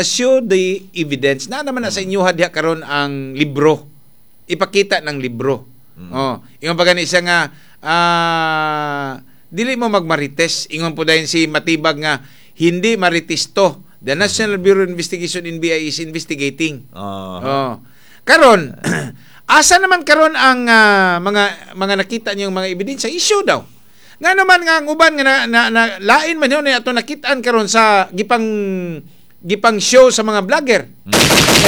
Show the evidence. Na naman na sa inyo diha karon ang libro. Ipakita ng libro. Oh, ingon pa gani siya nga dili mo magmarites. Ingon po dayon si Matibag nga hindi marites to. The National Bureau of Investigation, NBI, is investigating. Oh. Karon, asa naman karon ang mga nakita niyong mga ebidensya? Issue daw. Nga naman nga ang uban nga na lain man yun ato nakitaan karon sa gipang gipang show sa mga vlogger. Na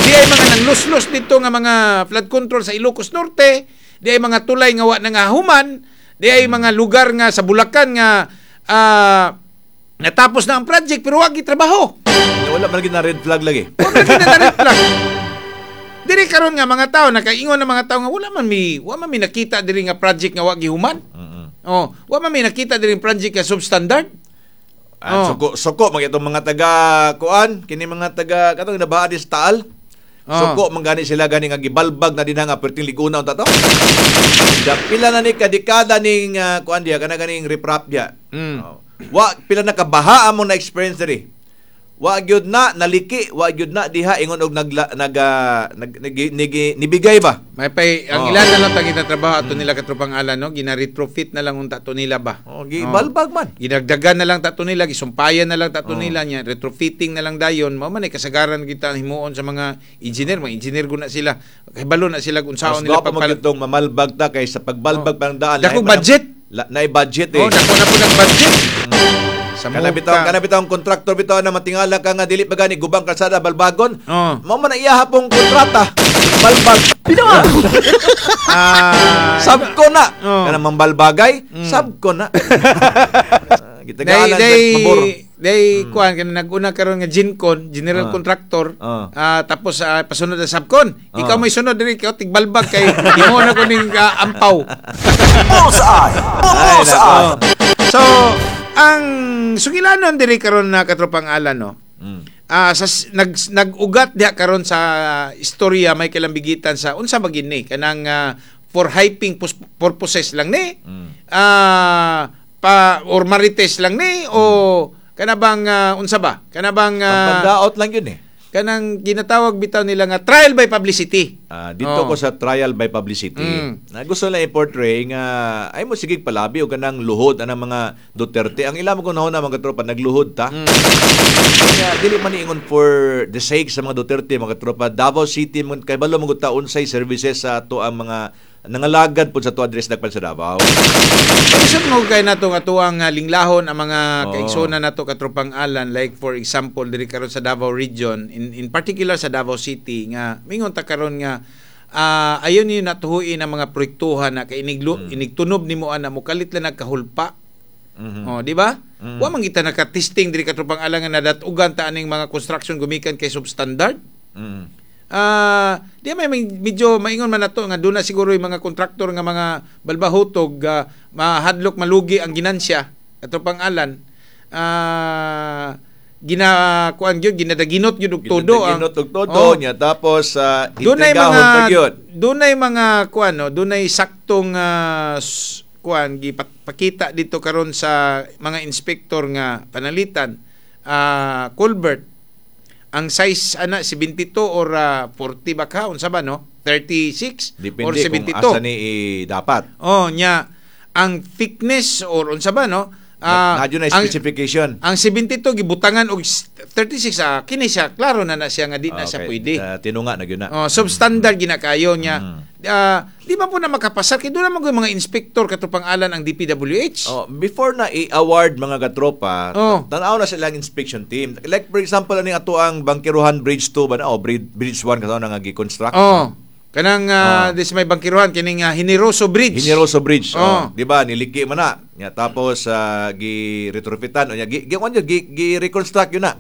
di ay mga nangluslos dito nga mga flood control sa Ilocos Norte, di ay mga tulay nga wa na nga human, di ay mga lugar nga sa Bulacan nga natapos na ang project pero wa gitrabaho. Wala man lagi na red flag lagi. Wa man lagi na red flag. Diri karon nga mga tao nakaingon ng mga tao nga wala man mi nakita diri nga project nga wa gihuman. Oh, wa man mi nakita diri project nga substandard. Ah, Oh. suko suko man itong mga taga kuan, kini mga taga katong nabaha di sa Taal. Oh. Suko man gani sila gani nga gibalbag na dinha nga perting liguna unta to. Da pila na ni kadekada ning kuan diya kana ganing riprap diya. Oh. Wa pila na kabaha among na experience diri. Wa gyud na naliki, wa gyud na diha ingon og nagla, nag, ah, nag, nag, nibigay ba? May pay ang ilan na lang tang trabaho ato nila katropang Alan, no, gina retrofit na lang unta to nila ba. Oh, gibalbag man. Ginagdagan na lang tato nila, gisumpayan na lang tato nila niya, retrofitting na lang dayon. Mao man ay kasagaran kita himuon sa mga engineer guna sila. Kabalo na sila kung Mas saon nila gwapo man gyud tong mamalbag ta kay sa pagbalbag pa ng daan. Dako lahi man ang- budget. Naay budget eh. Oh, dako na po nag budget. Sa Kana muka. bitaw, kana bitaw ang kontraktor bitaw na matingala ka nga dili pa gani gubang kalsada balbagon. Oh. Mao man ang iya pong kontrata. Balbag. Sab ko na. Oh. Kana mambalbagay, sab ko na. Day Gitagalan day pabor. Day kuan kana naguna karon nga Gincon, general contractor. Tapos pasunod na subcon. Ikaw may sunod diri ikaw tigbalbag kay imo na ko ning ampaw. Bullseye! Ay, Bullseye! nako. So, ang sugilanon diri karon na katropang Alan, no. Sa nag-ugat diha karon sa istorya may kalambigitan sa unsa ba gini kanang for hyping purposes lang ni pa or marites lang ni o kana bang unsa ba kana bang Pagdaot lang yun eh. kanang ginatawag bitaw nila nga trial by publicity. Dito Oh. ko sa trial by publicity. Na gusto lang i-portray nga ay mo sige palabi o kanang luhod anang mga Duterte. Ang ila mo kung nahuna mga tropa nagluhod ta. Kaya dili man ingon for the sake sa mga Duterte mga tropa. Davao City man kay balo man gud ta unsay services sa ato ang mga nangalagad pud sa ato address dagpan sa Davao. Lisod mo kay nato nga tuang linglahon ang mga kaigsoona nato katropang Alan, like for example diri karon sa Davao Region, in particular sa Davao City, nga mingon ta karon nga ayon niyo natuhuin ang mga proyektuhan na kay inigtunob nimo ana mokalit lang nagkahulpa. Oh, di ba? Wa man kita naka-testing diri katropang Alan nga nadatugan ta aning mga construction gumikan kay substandard. Di may medyo maingon man nato nga doon na siguro yung mga kontraktor nga mga balbahutog mahadlok malugi ang ginansya ato Alan, gina kuan gyud ginadaginot gyud og todo ang Ginaginot og todo Oh. niya tapos Dunay intrigahon mga pa gyud. dunay mga kuan, no, dunay saktong kuan gipakita dito karon sa mga inspektor nga panalitan culvert ang size ana 72 or 40 ba ka unsa ba, no, 36 Depende or kung 72. asa ni dapat. Oh, nya ang thickness or unsa ba, no? Na na ang, specification. ang 72 gibutangan og 36, kini siya klaro na na siya nga di na siya Okay. pwede. Tinunga na gyud na. Oh, substandard ginakayo niya. Di ba po na makapasar kay doon naman ko yung mga inspektor katropang Alan ang DPWH. Oh, before na i-award mga katropa, tanaw na silang inspection team. Like for example, aning ato ang Bangkiruhan Bridge 2 ba na o Bridge 1 kato na nga gi-construct. Oh. Kanang this may Bangkiruhan kining Hineroso Bridge. Hineroso Bridge. Oh. Oh. Di ba niliki man na. Nya tapos gi-retrofitan o nya gi gi, gi, gi, gi-reconstruct yun na.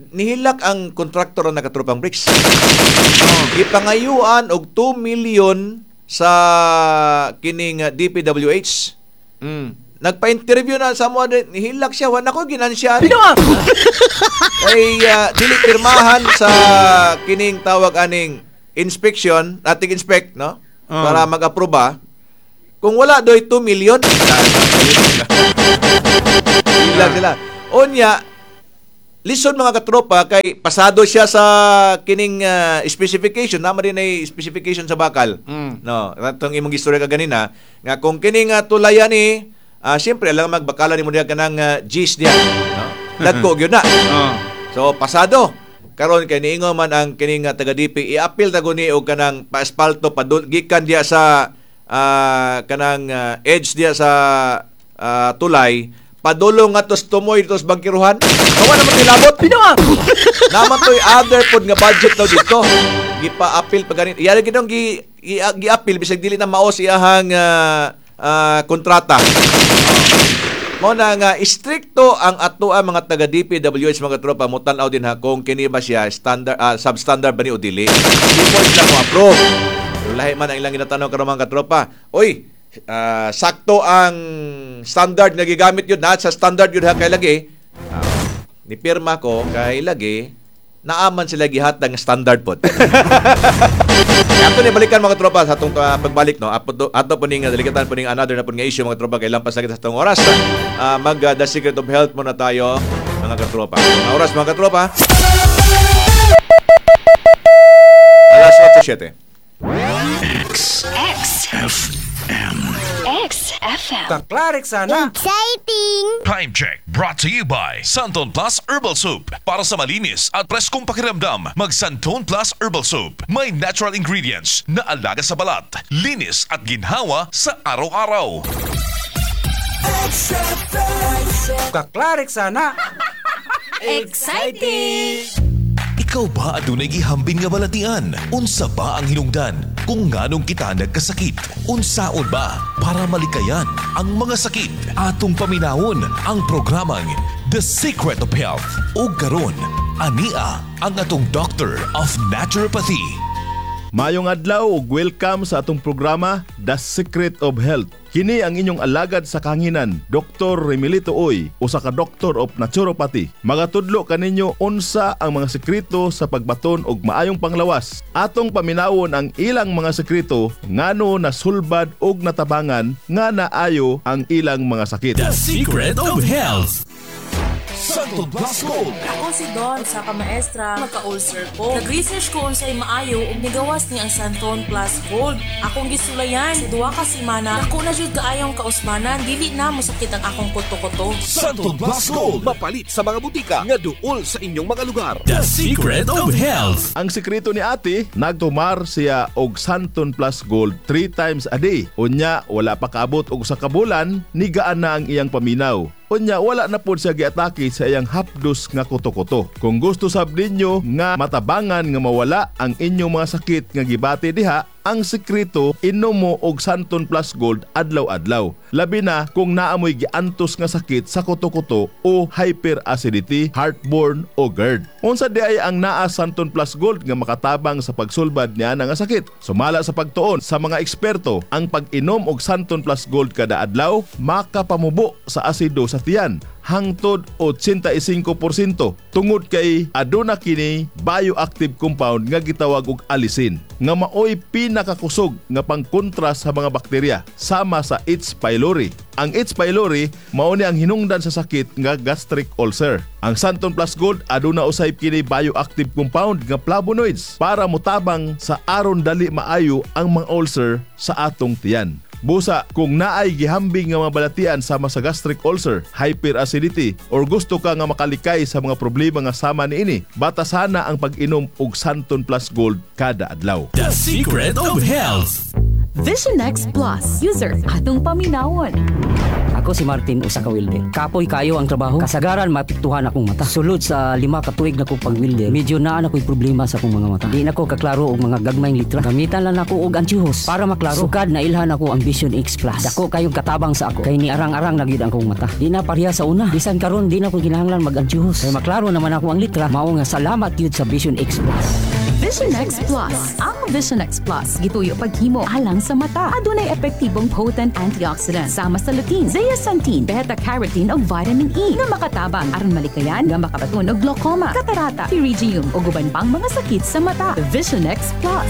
Nihilak ang kontraktor na nakatropang bricks. Gipangayuan og 2 million sa kining DPWH. Nagpa-interview na sa mo nihilak siya wa nako ginansya. Ay dili pirmahan sa kining tawag aning inspection, ating inspect, no? Para mag-aproba. Kung wala doy 2 million. Hilak sila. Unya Lisod, mga katropa, kay pasado siya sa kining specification, naman din ay specification sa bakal. No, atong imong istorya kaganina nga kung kining tulayan ni siyempre alang magbakala nimo diha kanang G's diha, no? Dagko gyud na. So pasado. Karon kay niingon man ang kining taga DP, i-appeal ta guni og kanang pa-asfalto padul gikan diha sa kanang edge diha sa tulay padulong nga tos tumoy tos bangkiruhan. Kawa naman nilabot. Naman to'y other pod nga budget daw dito. Gipa-appeal pa ganit. Iya ginong gi-appeal bisag dili na mao siyahang kontrata. Mao na nga istrikto ang atoa mga taga DPWH, mga tropa, mo tan-aw din ha kung kini ba siya standard, substandard ba ni o dili. Before sila mo approve. Pero lahi man ang ilang ginatanaw karon, mga katropa. Oy, sakto ang standard nga gigamit yun na sa standard yun ha kay lagi. Ni pirma ko kay lagi naaman sila gihatag nga standard pod. Ato ni balikan, mga tropa, sa atong pagbalik, no. Ato ato po ning delikatan po ning another na po nga issue, mga tropa, kay lampas na kita sa atong oras. Mag The Secret of Health muna tayo, mga katropa. Mga oras, mga katropa. Alas 8:07. X X M X FM. Kaklarik sana. Exciting! Time check brought to you by Santon Plus Herbal Soup. Para sa malinis at preskong pakiramdam, mag Santon Plus Herbal Soup. May natural ingredients na alaga sa balat, linis at ginhawa sa araw-araw. Kaklarik sana. Exciting! Ikaw ba adunay gihambin nga balatian? Unsa ba ang hinungdan kung nganong kita nagkasakit? Unsaon ba para malikayan ang mga sakit? Atong paminawon ang programang The Secret of Health. O karon, ania ang atong Doctor of Naturopathy. Maayong adlaw ug welcome sa atong programa The Secret of Health. Kini ang inyong alagad sa kahanginan, Dr. Remilito Oy, usa ka Doctor of Naturopathy. Magatudlo kaninyo unsa ang mga sekreto sa pagbaton og maayong panglawas. Atong paminawon ang ilang mga sekreto ngano nasulbad og natabangan nga naayo ang ilang mga sakit. The Secret of Health. Santon Plus Gold. Ako si Don, sa ka maestra, magka-ulcer ko. Nag-research ko unsay maayo ug nigawas ni ang Santon Plus Gold. Akong gisulayan sa 2 ka semana, dako na jud kaayong kausmanan, dili na mosakit ang akong kuto-kuto. Santon Plus Gold. Mapalit sa mga butika nga duol sa inyong mga lugar. The Secret of Health. Ang sekreto ni ate, nagtumar siya og Santon Plus Gold 3 times a day. Unya, wala pa kaabot og usa ka bulan, nigaan na ang iyang paminaw. Unya, wala na pod siya giatake sa iyang hapdos nga kuto-kuto. Kung gusto sab ninyo nga matabangan nga mawala ang inyong mga sakit nga gibati diha, ang sekreto, inom mo og Santon Plus Gold adlaw-adlaw. Labi na kung naamoy giantos nga sakit sa kuto-kuto o hyperacidity, heartburn o GERD. Unsa di ay ang naa Santon Plus Gold nga makatabang sa pagsulbad niya nga sakit? Sumala sa pagtuon sa mga eksperto, ang pag-inom og Santon Plus Gold kada adlaw makapamubo sa asido sa tiyan hangtod 85% tungod kay aduna kini bioactive compound nga gitawag og allicin nga maoy pinakakusog nga pangkontra sa mga bakterya sama sa H. pylori. Ang H. pylori mao ni ang hinungdan sa sakit nga gastric ulcer. Ang Santon Plus Gold aduna usay kini bioactive compound nga flavonoids para motabang sa aron dali maayo ang mga ulcer sa atong tiyan. Busa, kung naay gihambing nga mga balatian sama sa gastric ulcer, hyperacidity, or gusto ka nga makalikay sa mga problema nga sama niini, batasana ang pag-inom og Santon Plus Gold kada adlaw. The Secret of Health. Vision X Plus. User, atong paminawon. Ako si Martin, usa ka welder. Kapoy kayo ang trabaho. Kasagaran maapektuhan akong mata. Sulod sa 5 ka tuig na ko pag-welder, medyo naa na ko'y problema sa akong mga mata. Di na ko kaklaro og mga gagmayng litra. Gamitan lang nako og antiyohos para maklaro. Sukad na ilhan ako ang Vision X Plus. Dako kayong katabang sa ako. Kay ni arang-arang na gyud ang akong mata. Di na pareha sa una. Bisan karon di na ko kinahanglan mag-antiyohos. Kay maklaro naman ako ang litra. Mao nga salamat gyud sa Vision X Plus. Vision X Plus. Ang Vision X Plus, gituyo paghimo alang sa mata. Adunay epektibong potent antioxidant sama sa lutein, zeaxanthin, beta-carotene ug vitamin E nga makatabang aron malikayan nga makabaton og glaucoma, katarata, pterygium ug uban pang mga sakit sa mata. Vision X Plus.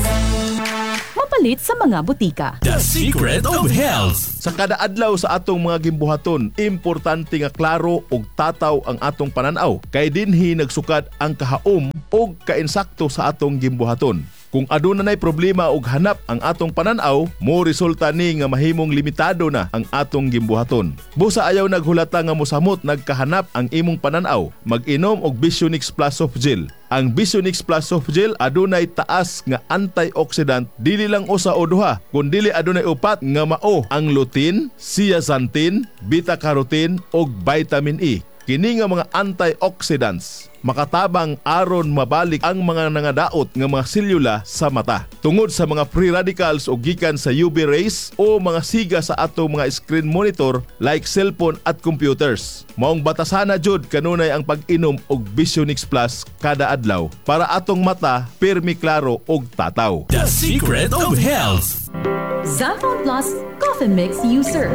Mapalit Mapalit sa mga butika. The Secret of Health. Sa kada adlaw sa atong mga gimbuhaton, importante nga klaro ug tataw ang atong pananaw kay dinhi nagsukad ang kahaom ug kainsakto sa atong gimbuhaton. Kung aduna nay problema ug hanap ang atong pananaw, mo resulta ni nga mahimong limitado na ang atong gimbuhaton. Busa ayaw naghulata nga mosamot nagkahanap ang imong pananaw, mag-inom og Visionix Plus Soft Gel. Ang Visionix Plus Soft Gel adunay taas nga antioxidant, dili lang usa o duha, kundili adunay upat nga mao ang lutein, zeaxanthin, beta-carotene ug vitamin E. Kini nga mga antioxidants makatabang aron mabalik ang mga nangadaot nga mga selula sa mata. Tungod sa mga free radicals o gikan sa UV rays o mga siga sa atong mga screen monitor like cellphone at computers. Maong batasana jud kanunay ang pag-inom og Visionix Plus kada adlaw para atong mata pirmi klaro og tataw. The Secret of Health. Xanthone Plus Coffee Mix User.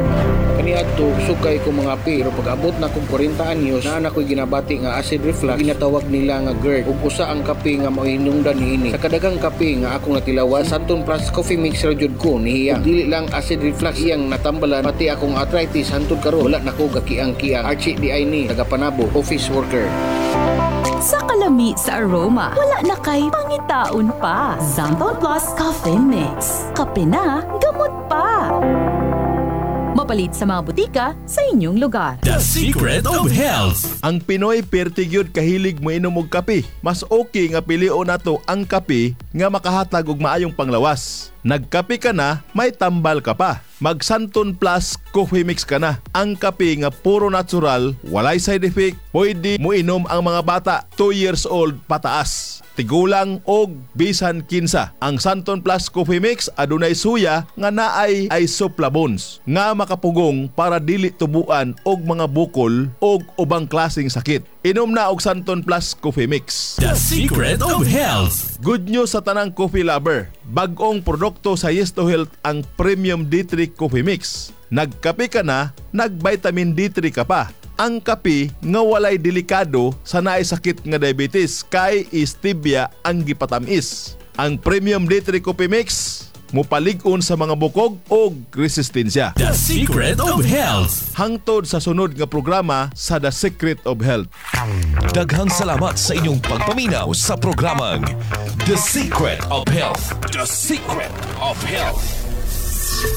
Kaniadto sukay ko mga pero pag abot na kong 40 anyos, naa na ko'y ginabati nga acid reflux, ginatawag nila nga GERD, ug usa ang kape nga mao'y hinungdan niini. Sa kadaghang kape nga akong natilawan, Xanthone Plus Coffee Mix ra jud ko nihiya. Ug dili lang acid reflux iyang natambalan, pati akong arthritis hantod karon wala na ko gakiang-kiang. Archie di ay ni taga Panabo, office worker. Sa kalami sa aroma, wala na kay pangitaon pa. Xanthone Plus Coffee Mix. Kape na, gamot pa. Mapalit sa mga butika sa inyong lugar. The Secret of Health. Ang Pinoy perti gyud kahilig moinom og kape. Mas okay nga pilion nato ang kape nga makahatag og maayong panglawas. Nagkape ka na, may tambal ka pa. Mag Xanthone Plus Coffee Mix ka na. Ang kape nga puro natural, walay side effect, pwede moinom ang mga bata 2 years old pataas. Tigulang og bisan kinsa. Ang Xanthone Plus Coffee Mix adunay suya nga naay isoflavones nga makapugong para dili tubuan og mga bukol og ubang klaseng sakit. Inom na og Xanthone Plus Coffee Mix. The Secret of Health. Good news sa tanang coffee lover. Bag-ong produkto sa Yes to Health ang Premium D3 Coffee Mix. Nagkape ka na, nag-vitamin D3 ka pa. Ang kape nga walay delikado sa naay sakit nga diabetes kay stevia ang gipatamis. Ang Premium D3 Coffee Mix mupalig-on sa mga bukog og resistensya. The Secret of Health. Hangtod sa sunod nga programa sa The Secret of Health. Daghang salamat sa inyong pagpaminaw sa programang The Secret of Health. The Secret of Health.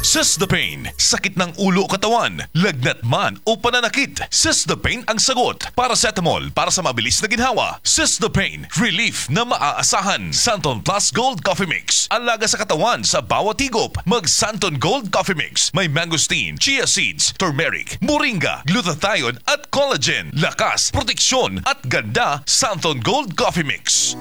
Sis the Pain, sakit ng ulo o katawan, lagnat man o pananakit. Sis the Pain ang sagot. Paracetamol para sa mabilis na ginhawa. Sis the Pain, relief na maaasahan. Xanthone Plus Gold Coffee Mix, alaga sa katawan sa bawat higop. Mag Xanthone Gold Coffee Mix, may mangosteen, chia seeds, turmeric, moringa, glutathione at collagen. Lakas, proteksyon at ganda, Xanthone Gold Coffee Mix.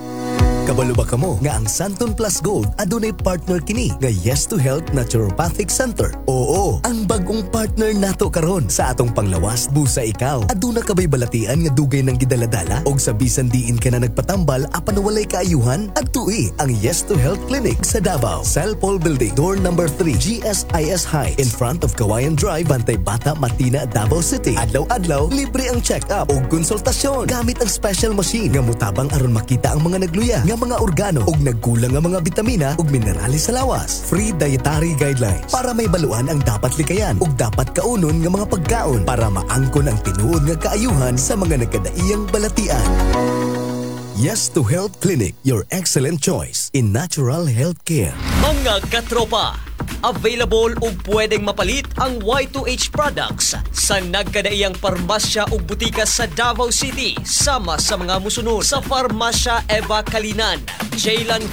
Kabalo ba kamo nga ang Xanthone Plus Gold adunay partner kini nga Yes to Health Naturopathic Center? Oo, ang bagong partner nato karon sa atong panglawas. Busa ikaw, aduna ka bay balatian nga dugay nang gidaladala og sa bisan diin ka na nagpatambal apan walay kaayuhan? Adtui ang Yes to Health Clinic sa Davao, Cellpol Building, door number 3, GSIS High, in front of Kawayan Drive, Bantay Bata, Matina, Davao City. Adlaw-adlaw, libre ang check-up ug konsultasyon gamit ang special machine nga mutabang aron makita ang mga nagluya nga mga organo ug nagkulang nga mga bitamina ug minerales sa lawas. Free dietary guidelines para mahibaluan ang dapat likayan ug dapat kaunon nga mga pagkaon para maangkon ang tinuod nga kaayuhan sa mga nagkadaiyang balatian. Yes to Health Clinic, your excellent choice in natural health care. Mga katropa, available ug pwedeng mapalit ang Y2H products sa nagkadaiyang parmasya ug butika sa Davao City sama sa mga musunod: sa Parmasya Eva Kalinan, Jaylan.